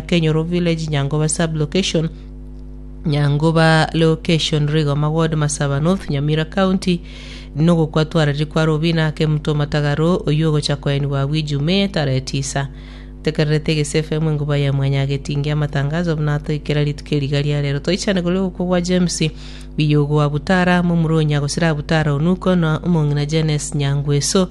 Kenyoro Village, Nyangoba Sub-location, Nyangoba Location, Rigoma Ward, Masaba North, Nyamira County, nogokwa twararire kwa Robina Kemuto Matagaro oyio ogocha koenigwa abwo Ijumaa tarehe tisa. Tekererete Egese FM enguba ya Mwanyagetinge amatangazo buna atoikera rituko eriga ria rero. Toichane koria ogokwa gwa James Biyogo wa Butara, momura o Nyagosira Butara Onuko na omong'ina Janes Nyangweso.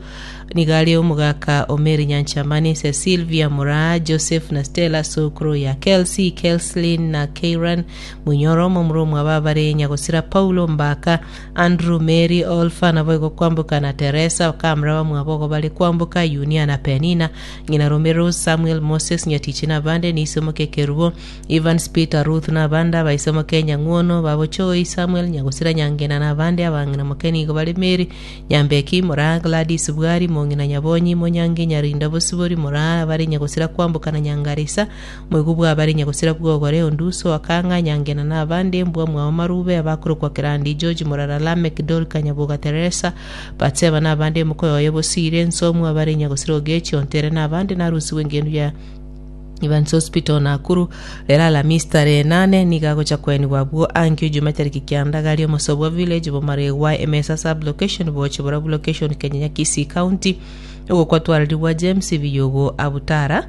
Nigo are omogaka o Mary Nyanchamani, Cecilvia Moraa, Joseph na Stella, sokoro ya Kelsey, Kelslin na Keiran Munyoro, momura omwabo abare Nyagosira Paulo, Mbaka, Andrew, Mary, Olfa, naboigo Kwamboka na Teresa, bakamura bamwabo ogo bare Kwamboka, Yunia na Penina, ng'ina rome Rose, Samuel, Moses, Nyatichi na abande, Niso moke Kerubo, Evans, Peter, Ruth na abande, abaise moke Nyang'wono, babo Choi, Samuel, Nyagosira, Nyangena na abande, abang'ina moke nigo bare Mary, Nyambeki, Moraa, Gladys, Bwari, Mong'ina Nyabonyi, Monyangi, Nyarinda, Bosibori, Moraa, abare Nyagosira Kwamboka na Nyangarisa, Moigwa bwa abare Nyagosira Bwogore, Onduso, Akang'a, Nyangena na abande, Mbwa mwao Marube, abakorokwa Kerandi, George, Morara, Lameck, Dorika, Nyaboga, Teresa, Batseba na abande, Mokoyoye, Bosire, Nsomu, abare Nyagosira Ogechi, Ontere na abande, narusigwe engendu ya Evans Hospital Nakuru, rero Alamisi tarehe nane nigo agocha koenigwa abwo ankio Juma tariki kianda gari Omosobwa Village Bomaregwa Emesa Sub Location Boche Borabu Location Kenyenya Kisii County ogokwa twararigwa James Biyogo Abutara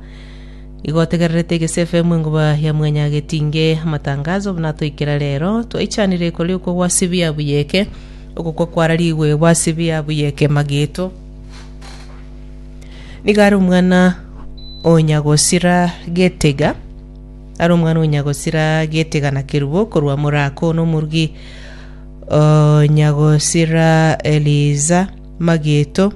igo otegererete Egese FM enguba ya Mwanyagetinge amatangazo buna toikera rero twaichanire koria okwo gwa Sibia Buyeke ogokwa kwararigwe gwa Sibia Buyeke Mageto Nigo are omwana o nyagosira Getega, are omwana o nyagosira Getega na Kerubo korwa Morako, na omorugi o nyagosira Eliza Mageto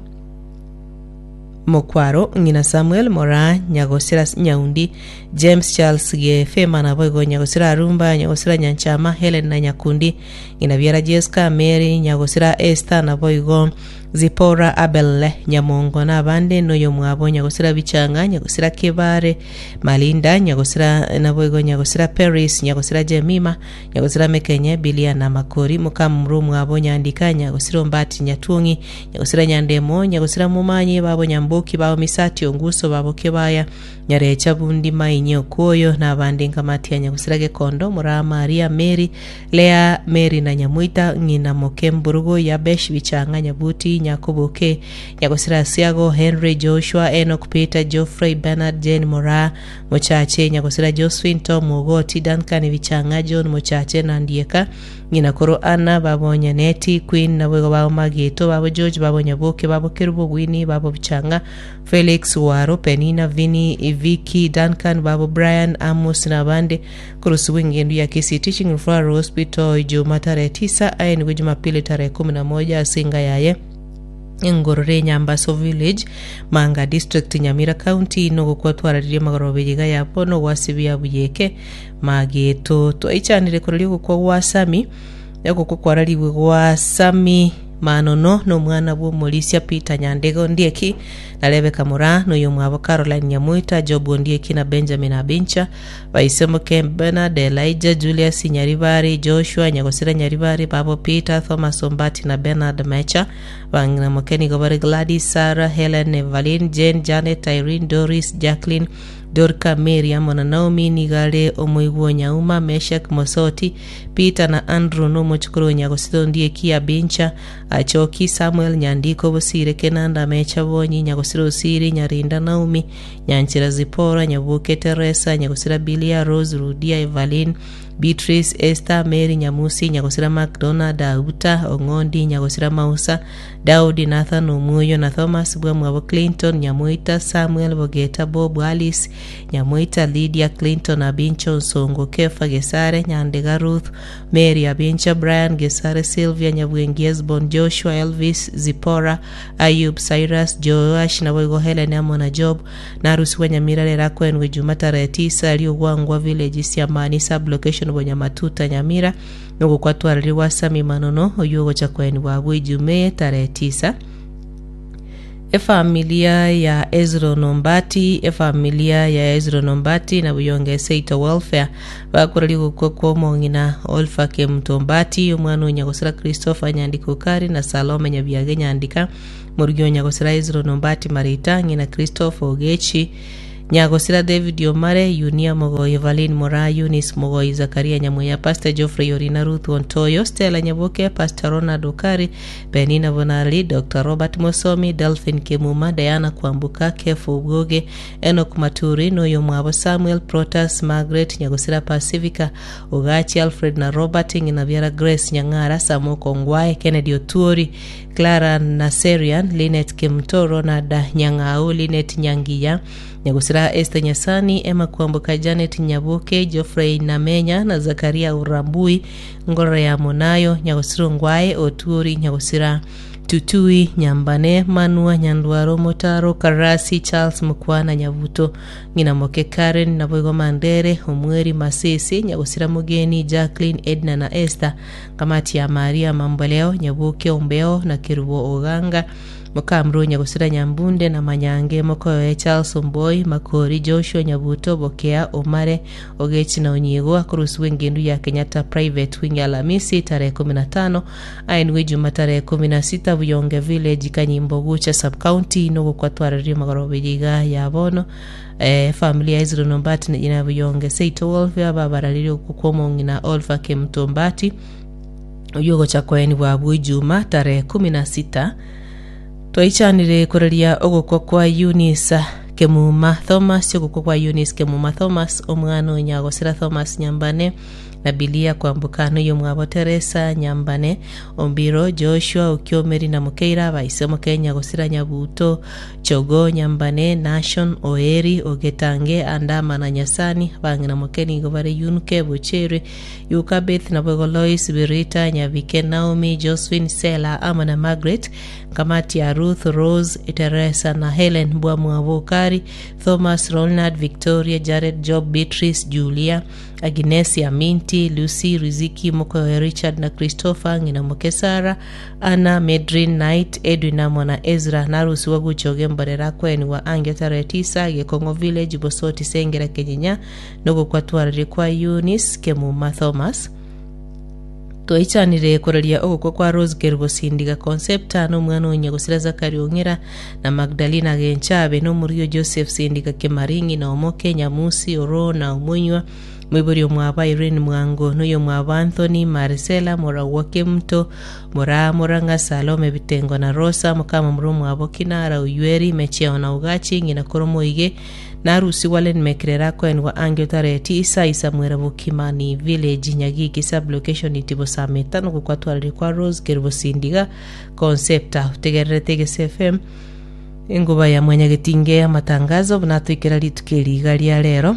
Mokwaro, ng'ina Samuel Moraa nyagosira Nyaundi, James Charles Gefema, naboigo nyagosira Arumba, nyagosira Nyanchama, Helen na Nyakundi, ng'ina biara Jesca, Mary, nyagosira Esther, naboigo Zipora, Abel, Nyamongo, na abande, noyomwabo nyagosira Bichang'a, nyagosira Kebare, Malinda, nyagosira naboigo nyagosira Peris, nyagosira Jemima, nyagosira Mekenye, Bilia na Makori, mokamomura omwabo Nyandika, nyagosira Ombati, Nyatuong'i, nyagosira Nyandemo, nyagosira Momanyi, babo Nyamboki, babo Misati, Onguso, babo Kebaya, Nyarecha, Bundi, Mainye, Okwoyo, na abande Nkamatia, nyagosira Gekondo, Moraa, Maria, Mary, Lea, Meri na Nyamoita, ng'ina moke Mburugu, Yabesh, Bichang'a, Nyabuti, Nyakoboke, Nyagosira Asiago, Henry, Joshua, Enock, Peter, Geoffrey, Bernard, Jane, Moraa, Mochache, Nyagosira Josephine, Tom, Ogoti, Duncan, Bichang'a, John, Mochache na Ndieka, ng'ina koro Anna, babo Nyaneti, Queen, naboigo babo Mageto, babo George, babo Nyaboke, babo Kerubo, Winnie, babo Bichang'a, Felix, Waro, Penina, Vinny, Vicky, Duncan, babo Brian, Amos na abande. Korosibwa engendu ya Kisii Teaching Referral Hospital Ijumaa tarehe tisa aenigwe Jumapili tarehe kumi na moja ase enga yaye engorore Enyambaso Village, Manga District, Nyamira County nogokwa twararirie magoroba eye iga ya bono gwasibia buyeke mageto twaichanire koraria ogokwa gwa Sami ogokwa kwararigwe gwa Sami Manono nomwana bw'omorisia Peter Nyandego Ondieki na Rebecca Moraa noyomwabo Caroline Nyamoita Job Ondieki na Benjamin Abincha Baisemoke Bernard, Elijah, Julius Nyaribari, Joshua Nyagosira Nyaribari, babo Peter, Thomas Ombati na Bernard Mecha. Bang'ina moke nigo bare Gladys, Sarah, Helen, Evaline, Jane, Janet, Irene, Doris, Jacqueline, Dorca, Mary amo na Naomi. Nigo are omoigwa o Nyauma, Meshak, Mosoti, Peter na Andrew na omochokoro o Nyagosira Ondieki, Abincha, Achoki, Samuel, Nyandiko, Bosire, Kenanda, Mecha, Bonyi, Nyagosira Osiri, Nyarinda, Naomi, Nyanchera Zipora, Nyaboke Teresa, Nyagosira Bilia, Rose, Rudia, Evaline, Beatrice, Esther, Mary, Nyamusi, Nyagosira Macdonald, Auta, Ong'ondi, Nyagosira Mausa, Daudi, Nathan, Omuoyo na Thomas, bwamwabo Clinton, Nyamoita, Samuel, Bogeta, Bob, Alice, Nyamoita, Lydia, Clinton, Abincho, Nsongo, Kefa, Gesare, Nyandega, Ruth, Mary, Abincha, Brian, Gesare, Sylvia, Nyabwengi, Esbon, Joshua, Elvis, Zipora, Ayub, Cyrus, Joash, naboigo Helen amo na Job, narusigwe Nyamira rero akoenwe Juma tarehe tisa aria Ogwangwa village Siamani sub location Bonyamatuta Nyamira nogokwa twararigwa Sami Manono oyio ogocha koenigwa abwo Ijumaa tarehe tisa. Efamilia ya Ezron Ombati Efamilia ya Ezron Ombati na Buyonga Eseito Welfare bakoraria ogokwa kwa omong'ina Olpha Kemunto Ombati, omwana o Nyagosira Christopher Nyandika Okari na Salome Nyabiage Nyandika, morugi o Nyagosira Ezron Ombati Marita, ng'ina Christopher Ogechi. Nyagosira David Omare, Yunia Mogoi, Evaline Moraa, Eunice Mogoi, Zakaria Nyamweya, Pastor Geoffrey Orina, Ruth Ontoyo, Stella Nyaboke, Pastor Ronald Okari, Penina Bonareri, Doctor Robert Mosomi, Delphine Kemuma, Diana Kwamboka, Kefa Obwoge, Enock Maturi, na oyomwabo Samuel, Protas, Margaret, Nyagosira Pacifica, Ogachi Alfred na Robert, ng'ina biara Grace Nyang'ara, Samoko Ongwae, Kennedy Otuori, Clara Naserian, Linet Kemuto, Ronald Nyang'au, Linet Nyangiya, Nyagosira Esther Nyasani, Emma Kwamboka, Janet Nyaboke, Geoffrey Namenya na Zakaria Urambui, Ngorora ya Monayo, Nyagosira Ongwae, Otuori, Nyagosira Tutui, Nyambane, Manua, Nyandwaro, Motaro, Karasi, Charles Mokwana, Nyabuto, Ng'ina moke Karen, naboigo Mandere, Omweri, Masese, Nyagosira Mogeni, Jacqueline, Edna na Esther, Kamati ya Maria Mamboleo, Nyaboke Ombeo, na Kerubo Oganga, Mokamru Nyagosira Nyambunde na Manyange, Mokoyoe Charles Omboi, Makori Joshua Nyabuto, Bokea Omare, Ogechi na Onyiego, akorusigwa engendu ya Kenyatta Private Wing Alamisi tarehe 15, aenigwe Ijuma tarehe 16 Buyonge Village, Kanyimbo Gucha Sub-County, nogokwa twarareria magoroba eye iga ya bono. Efamiri ya Hezron Ombati na Buyonge Seito Wolfe ababararirie okwo kw'omong'ina Olpha Kemuto Ombati, oyio ogocha koenigwa abwo Ijuma tarehe 16. Twaichanire koraria ogokwa kwa Eunice Kemuma Thomas, ogokwa kwa Eunice Kemuma Thomas, omwana o Nyagosira Thomas Nyambane, na Bilia Kwamboka, na oyomwabo Teresa Nyambane, Ombiro, Joshua, Okiomeri na Mokeira, abaise omoke Nyagosira Nyabuto, Chogo, Nyambane, Nashon, Oeri, Ogetange, Andama na Nyasani, abang'ina moke nigo bare Yunke, Bochere, Yukabeth, naboigo Lois, Berita, Nyabike, Naomi, Josephine, Sela, amo na Margaret, Kamati ya Ruth, Rose, Teresa na Helen, Mbwamwabo Okari, Thomas, Ronald, Victoria, Jared, Job, Beatrice, Julia, Aginesi, Aminti, Lucy, Riziki, mokoyoe Richard na Christopher, ng'ina moke Sarah, Anna, Medrin, Knight, Edwin amo na Ezra, narusigwe gocha ogemborera akwenigwa ange tarehe tisa, Gekong'o Village, Bosoti, Sengera, Kenyenya, nogokwa twararie kwa Eunice Kemuma Thomas. Twaichanire koraria ogokwa kwa Rose Kerubo Sindiga Concepta, na omwana o Nyagosira Zachary Ong'era, na Magdalena Genchabe, na omorugi o Joseph Sindiga Kemaring'i, na Omoke, Nyamusi, Oroo, na Omonywa, moibori omwabo Irene Mwango, na oyomwabo Anthony, Marcella, Moragwa Kemunto, Moraa, Morang'a, Salome, Bitengo, na Rosa, mokamomura omwabo Kinara, Oyueri, Mecheo, na Ugachi, ng'ina koro Moige, Narusigwe Len Mekrera akoenigwa ange otareti Isai Samuel Bokimani Village Nyagiki Sub-location Itibo Sameta nogokwatwarire kwa Rose Kerubo Sindiga Concepta otegererete Egese FM engoba ya mwanyagetinge amatangazo buna atoikera rituko eri iga ria rero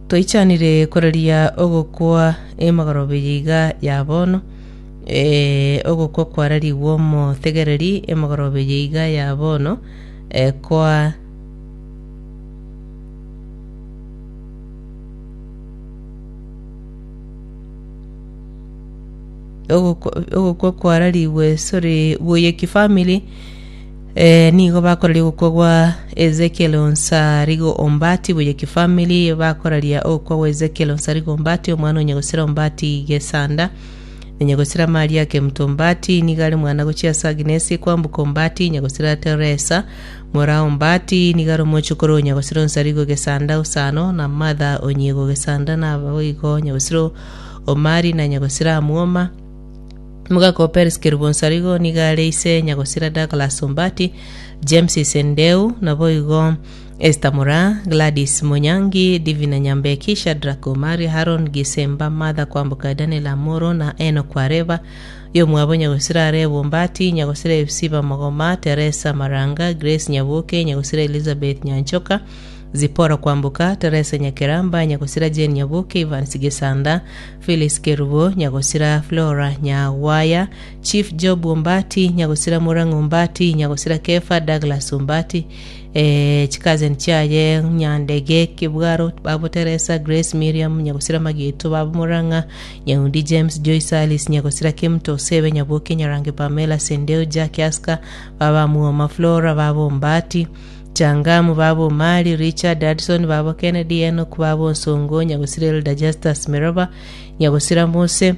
Twaichanire koraria ogokwa emagoroba eye iga ya bono Ogokwa kwararigwe omotegereri emegoroba eye iga ya bono, koa Ogokwa kwararigwe sore Boyeki family nigo bakoraria ogokwa gwa Ezekiel Onsarigo Ombati Boyeki family bakoraria ogokwa gwa Ezekiel Onsarigo Ombati omwana o Nyagosira Ombati Gesanda. Nyagosira Maria Kemuto Ombati nigo are mwana gochia ase Agnesi Kwamboka Ombati, Nyagosira Teresa Moraa Ombati nigo are omochokoro o Nyagosira Onsarigo Gesanda Osano na Martha Onyiego Gesanda na ababoigo Nyagosira Omari na Nyagosira Amwoma. Omogaka o Peris Kerubo Onsarigo nigo are ise Nyagosira Douglas Ombati, James Isendeu naboigo Esther Moraa, Gladys Monyangi, Divina Nyambeki, Shadrack Omari, Haron Gisemba, Martha Kwamboka, Daniel Amoro na Enock Wareba, oyomwabo Nyagosira Areba Ombati, Nyagosira Epsiba Mogoma, Teresa Maranga, Grace Nyaboke, Nyagosira Elizabeth Nyanchoka, Zipporah Kwamboka, Teresa Nyakeramba, Nyagosira Jane Nyaboke, Evans Gesanda, Phyllis Kerubo, Nyagosira Flora Nyagwaya, Chief Job Ombati, Nyagosira Murang'a Ombati, Nyagosira Kefa Douglas Ombati, Chikazen chiaye Nyandege Kibwaro, babo Teresa, Grace, Miriam, Nyagosira Mageto, babo Murang'a, Nyaundi James, Joyce Alice, Nyagosira Kemuto, Osebe, Nyaboke, Nyarange Pamela, Sendeo, Jack Aska, baba Muoma Flora, babo Ombati, Changamu, babo Omari, Richard, Addison, babo Kennedy, Enock, babo Onsongo, Nyagosira Elder Justus Meroba, Nyagosira Mose,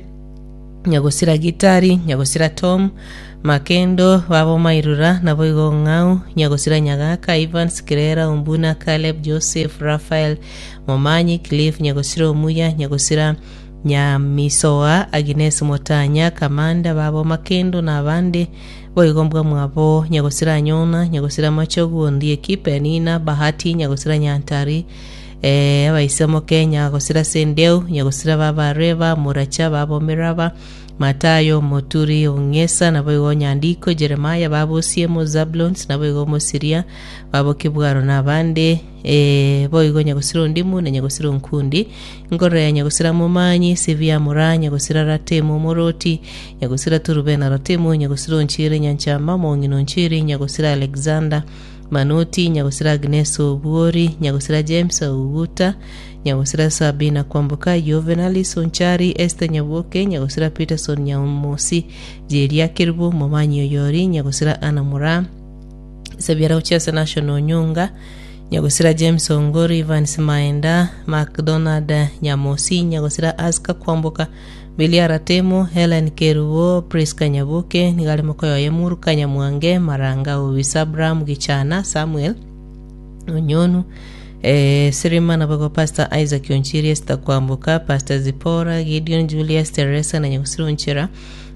Nyagosira Gitari, Nyagosira Tom, Makendo, babo Mairura, naboigo Ong'au, Nyagosira Nyagaka, Evans, Kirera, Ombuna, Caleb, Joseph, Raphael, Momanyi, Cliff, Nyagosira Omuya, Nyagosira Nyamisoa, Agnes Motanya, Kamanda, babo Makendo, na abande, boigo mbwa mwabo Nyagosira Anyona, Nyagosira Machogu, Ondieki, Penina, Bahati, Nyagosira Nyantari, eh, abaisemo Nyagosira Sendeu, Nyagosira baba Reba, Moracha, babo Miraba, Matayo, Moturi, Ong'esa, naboigo Nyandiko, Jeremaya, babo Osiemo, Zablons, naboigo Omosiria, babo Kibwaro na abande, ee, boigo Nyagosira Ondimu na Nyagosira Onkundi, Nkorora ya Nyagosira Momanyi, Sibia Mura, Nyagosira Ratemu Omoroti, Nyagosira Turubena Ratemu, Nyagosira Onchiri Nyanchama, Omong'ina Onchiri, Nyagosira Alexander, Manoti, Nyagosira Agnes Obuori, Nyagosira James Oguta, Nyagosira Sabina Kwamboka, Juvenalis Onchari, Esther Nyaboke, Nyagosira Peterson Nyamosi, Jeria Kerubo, Momanyi Oyori, Nyagosira Anna Moraa, Sebiara gochia ase Nashon Onyunga, Nyagosira James Ongoro, Evans Maenda, Macdonald Nyamosi, Nyagosira Aska Kwamboka, Billy Aratemo, Helen Kerubo, Prisca Nyaboke, nigo are mokoyoye Muruka Nyamwange, Maranga Obisa, Abraham Gichana, Samuel Onyonu, eh, Sirima naboigo Pastor Isaac Onchiri, Esther Kwamboka, Pastor Zipporah, Gideon Julius, Teresa na Nyagosira Onchera,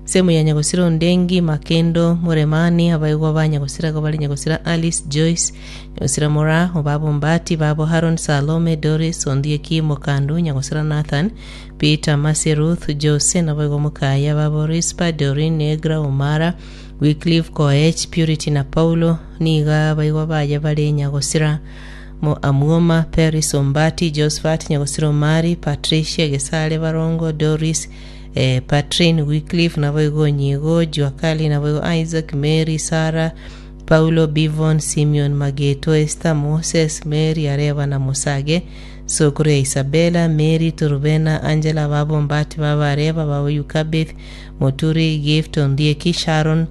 Semu ya Nyagosira Ondengi, Makendo, Muremani, abaigwa ba Nyagosira igo bare Nyagosira Alice, Joyce, Nyagosira Moraa, Obabo Mbati, Babo Haron, Salome, Doris, Ondieki, Mokandu, Nyagosira Nathan, Peter, Mercy, Ruth, Jose, naboigo Mokaya, Babo Rispa, Doreen, Negra, Omara, Wycliffe, Koech, Purity na Paulo, nigo abaigwa baye bare Nyagosira Amuoma, Peris Ombati, Josphat, Nyagosira Omari, Patricia, Gesare, Barongo, Doris, eh, Patrin, Wycliffe, naboigo Onyigo, Juakali, naboigo Isaac, Mary, Sarah, Paulo, Bivon, Simeon, Mageto, Esther, Moses, Mary, Areba na Musage, Sokoro ya Isabella, Mary, Turubena, Angela, babo Mbati, babo Areba, babo Yukabeth, Moturi, Gift, Ondieki, Sharon,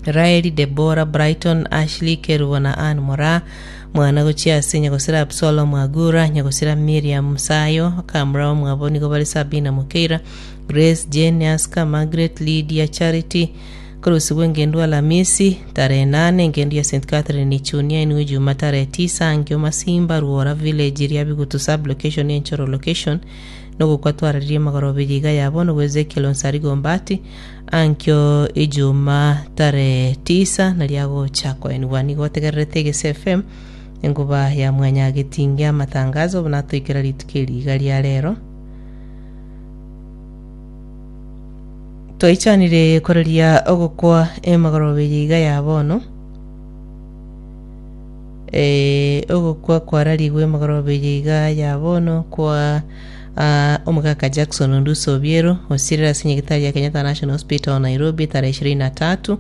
Raeli, Debora, Brighton, Ashley, Kerubo na Ann Moraa, mwana gochia ase nyagosira Absalomu Agura, nyagosira Miriam Musayo, akamura omwabo nigo bare Sabina Mokeira, Grace, Jane, Aska, Margaret, Lydia, Charity, Korosigwa engendu Alamisi, tarehe nane, engendu ya St Catherine Ichunia inwe Ijuma tarehe tisa, Ankio Masimba, Ruora Village, Riabigutu Sub Location, Enchoro Location, nogokwa twararirie magoroba eye iga ya bono gwa Ezekiel Onsarigo Ombati, Ankio Ijuma tarehe tisa nario agocha koenigwa. Nigo otegererete Egese FM, enkuba ya mwanyagetinge amatangazo buna atoikera rituko eri iga ria rero. Twaichanire koraria ogokwa emagoroba eye iga ya bono. Eh, ogokwa kwararigwe emagoroba eye iga ya bono kwa ah, omogaka Jackson Onduso Obiero osirire ase nyagetari ya Kenyatta National Hospital Nairobi tarehe 23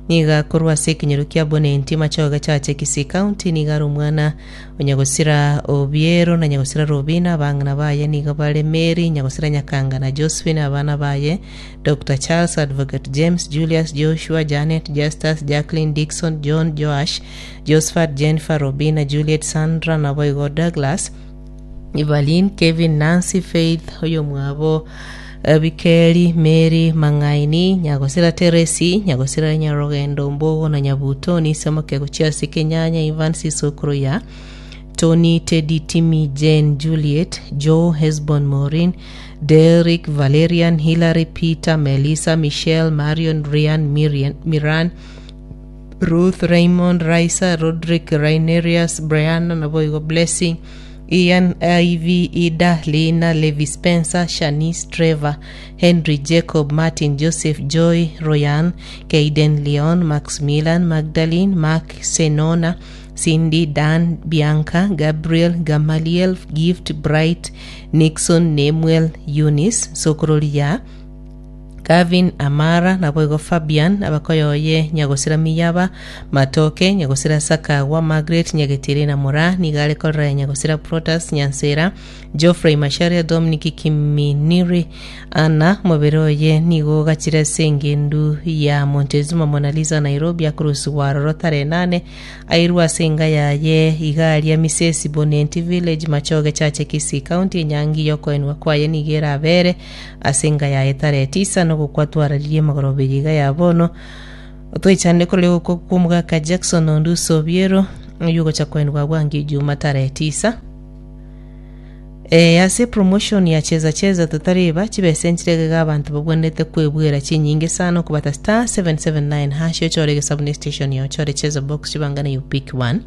Nigo akorwa ase ekenyoro kia Bonenti, Machoge Chache, Kisii County. Nigo are omwana o Nyagosira Obiero na Nyagosira Robina. Abang'ina baye nigo bare Mary, Nyagosira Nyakanga na Josephine. Abana baye Doctor Charles, Advocate James, Julius, Joshua, Janet, Justus, Jacqueline, Dickson, John, Joash, Josphat, Jennifer, Robina, Juliet, Sandra naboigo Douglas. Evelyn, Kevin, Nancy, Faith, oyomwabo Bikeri, Mary, Mang'aini, Nyagosira Teresi, Nyagosira Nyarogendo, Mbogo na Nyabuto, Nisemoke gochia ase Kenyanya, Evans Isokoro ya Tony, Teddy, Timmy, Jane, Juliet, Joe, Hesbon, Maureen, Derrick, Valerian, Hillary, Peter, Melissa, Michelle, Marion, Rian, Miriam, Miran, Ruth, Raymond, Raisa, Rodrick, Rainerius, Brianna, naboigo Blessing, Ian, Ivy, Ida, Lina, Levi Spencer, Shanice, Trevor, Henry, Jacob, Martin, Joseph, Joy, Royan, Kayden, Leon, Maximilian, Magdalene, Mark, Senona, Cindy, Dan, Bianca, Gabriel, Gamaliel, Gift, Bright, Nixon, Nemuel, Eunice, Sokororia, Gavin, Amara, naboigo Fabian, abakoyoye Nyagosira Miyaba, Matoke, Nyagosira Sakawa, Margaret, Nyagetiri na Moraa, nigo are korora ya Nyagosira Protas, Nyansera, Geoffrey Macharia, Dominic Kiminiri, Anna, omobere oye nigo ogachire ase engendu ya Montezuma Monalisa Nairobi akorusigwa aroro tarehe nane airwe ase enga yaye iga aria Misesi Bonenti Village Machoge Chache Kisii County enyangi yokoenwa kwaye nigo erabere Ase enka yaye tarehe tisa nogokwa twararirie emagoroba eye iga ya bono. Toichane korora ogokwa kw'omogaka Jackson Onduso Obiero, oyio ogocha koenigwa bwango Ijuma tarehe tisa. Eh, ase promotion ya cheza cheza totareba chibesa enchire iga abanto babwenerete kwebwera chinyinge sana okobata star 779 hash ochore egesabu ne station ya ochore cheza box chibangane you pick one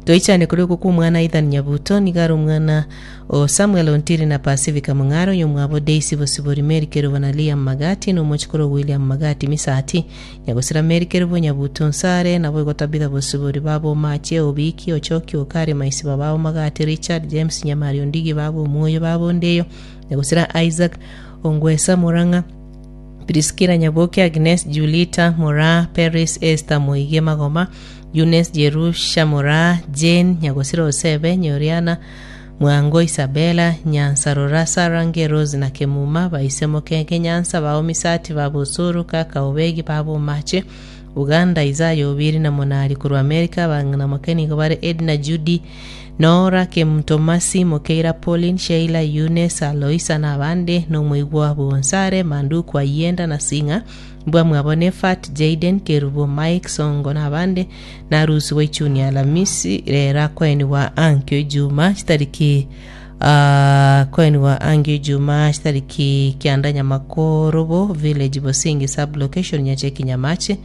Toichane korwa ogokwa omwana Ethan Nyabuto, nigo are omwana o Samuel Ontiri na Pacifica Mong'are, oyomwabo Daisy Bosibori, Mary Kerubo na Liam Magati, na omochikoro o William Magati Misati, Nyagosira Mary Kerubo, Nyabuto Nsare, naboigo Tabitha Bosibori, baba Omache, Obiki, Ochoki, Okari, Maisiba, baba Magati, Richard, James, Nyamari, Ondigi, baba Omwoyo, baba Ondeyo, Nyagosira Isaac, Ongwesa, Murang'a, Priskila Nyaboke, Agnes, Julita, Moraa, Peris, Esther, Moige, Magoma, Eunice, Jerusha, Moraa, Jane, Nyagosira Osebe, Nyoriana, Mwango, Isabella, Nyansarora, Sarange, Rose na Kemuma, baise Mokenke, Nyansa, bao Misati, baba Osoro, kaka Obegi, baba Omache, Uganda, Isaya Obiri na Monari korwa America, abang'ina moke nigo bare Edna, Judy, Nora, Kemtomasi, Mokeira, Pauline, Sheila, Eunice, Aloisa na abande, na omoigwa bw'Onsare, Manduku, Ayienda na Sing'a, mbwamwabo Nefat, Jayden, Kerubo, Mike, Songo na abande, na arusigwe Ichuni Alamisi, rero akoenigwa ankio Ijuma chitariki akoenigwa ankio Ijuma chitariki kianda Nyamakorobo Village Bosingi Sub Location Nyacheki Nyamache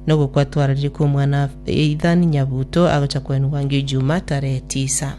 nogokwa twararire kw'omwana Ethan Nyabuto agocha koenigwa ankio Ijuma tarehe tisa.